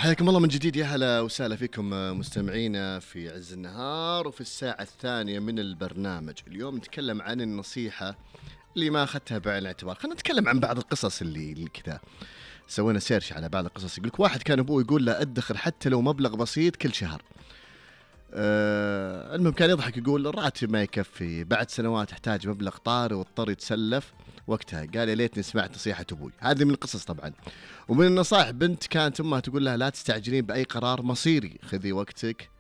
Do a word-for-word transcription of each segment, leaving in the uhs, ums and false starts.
حياكم الله من جديد، يا هلا وسهلا فيكم مستمعينا في عز النهار وفي الساعة الثانية من البرنامج. اليوم نتكلم عن النصيحة اللي ما أخذتها بعين الاعتبار. خلينا نتكلم عن بعض القصص اللي, اللي كذا سوينا سيرش على بعض القصص. يقولك واحد كان أبوه يقول له أدخر حتى لو مبلغ بسيط كل شهر. أه المهم كان يضحك يقول الراتب ما يكفي، بعد سنوات احتاج مبلغ طارئ واضطر يتسلف. وقتها قال يا ليتني سمعت نصيحة أبوي. هذه من القصص طبعا. ومن النصائح بنت كانت أمها تقول لها لا تستعجلين بأي قرار مصيري، خذي وقتك.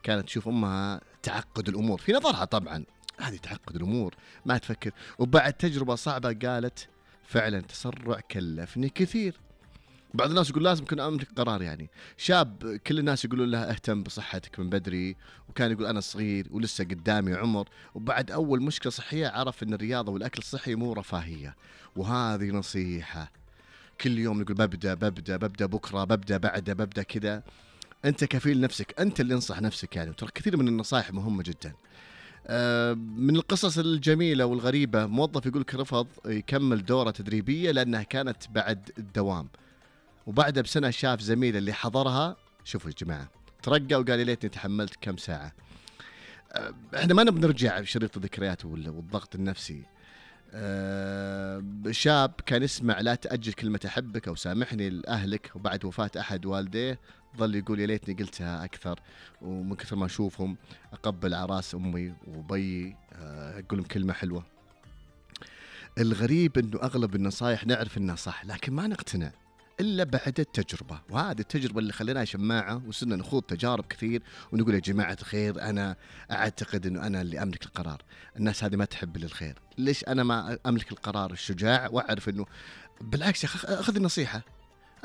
كانت تشوف أمها تعقد الأمور في نظرها، طبعا هذه تعقد الأمور ما تفكر. وبعد تجربة صعبة قالت فعلا تسرع كلفني كثير. بعض الناس يقول لازم كن أملك قرار. يعني شاب كل الناس يقولون له اهتم بصحتك من بدري، وكان يقول أنا صغير ولسه قدامي عمر. وبعد أول مشكلة صحية عرف أن الرياضة والأكل الصحي مو رفاهية. وهذه نصيحة كل يوم نقول ببدأ ببدأ ببدأ بكرة ببدأ بعده ببدأ كذا. أنت كفيل نفسك، أنت اللي انصح نفسك. يعني ترى كثير من النصائح مهمة جدا. من القصص الجميلة والغريبة موظف يقولك رفض يكمل دورة تدريبية لأنها كانت بعد الدوام، وبعدها بسنة شاف زميله اللي حضرها، شوفوا يا جماعة، ترقى وقال لي ليتني تحملت كم ساعة. احنا ما نبي نرجع في شريط الذكريات والضغط النفسي. أه شاب كان يسمع لا تأجل كلمة أحبك أو سامحني لأهلك، وبعد وفاة أحد والديه ظل يقول يا ليتني قلتها أكثر. ومن كثر ما أشوفهم أقبل عراس أمي وبي أه أقول لهم كلمة حلوة. الغريب إنه أغلب النصائح نعرف إنها صح لكن ما نقتنع إلا بعد التجربة. وهذه التجربة اللي خلينا شماعة وصرنا نخوض تجارب كثير ونقول يا جماعة الخير أنا أعتقد أنه أنا اللي أملك القرار. الناس هذه ما تحب للخير، ليش أنا ما أملك القرار الشجاع وأعرف أنه بالعكس أخذ النصيحة.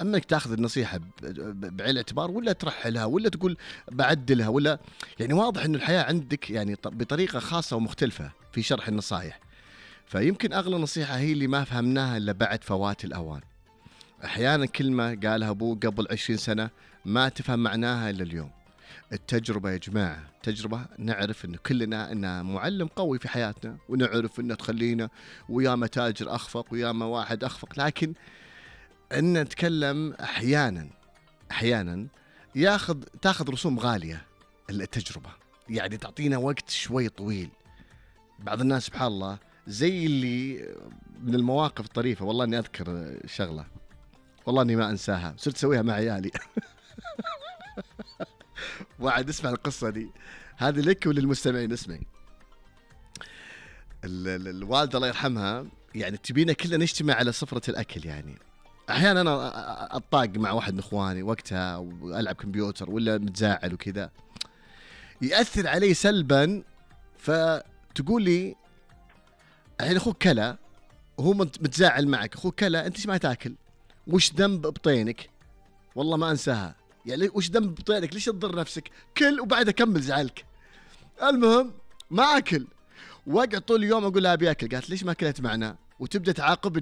أما أنك تأخذ النصيحة بعين الاعتبار ولا ترحلها ولا تقول بعدلها ولا، يعني واضح أنه الحياة عندك يعني بطريقة خاصة ومختلفة في شرح النصائح. فيمكن أغلى نصيحة هي اللي ما فهمناها إلا بعد فوات الأوان. أحيانا كلمة قالها أبوه قبل عشرين سنة ما تفهم معناها إلا اليوم. التجربة يا جماعة، تجربة نعرف إنه كلنا إنه معلم قوي في حياتنا، ونعرف إنه تخلينا وياما تاجر أخفق وياما واحد أخفق. لكن إن نتكلم أحيانا أحيانا ياخذ تاخذ رسوم غالية التجربة، يعني تعطينا وقت شوي طويل. بعض الناس سبحان الله زي اللي من المواقف الطريفة. والله إني أذكر شغلة والله اني ما انساها، صرت اسويها مع عيالي. وعد اسمع القصه دي، هذه لك وللمستمعين. اسمعي. الوالده الله يرحمها يعني تبينا كلنا نجتمع على سفره الاكل. يعني احيانا انا اطاق مع واحد من اخواني وقتها والعب كمبيوتر ولا متزاعل وكذا، ياثر علي سلبا. فتقول لي الحين اخوك كلا وهو متزاعل معك، اخوك كلا انت ايش ما تاكل؟ وش ذنب بطينك؟ والله ما أنساها. يعني وش ذنب بطينك؟ ليش تضر نفسك؟ كل وبعدها كمل زعلك. المهم ما أكل، وقع طول اليوم أقول لها أبي أكل. قالت ليش ما أكلت معنا؟ وتبدأ تعاقبني.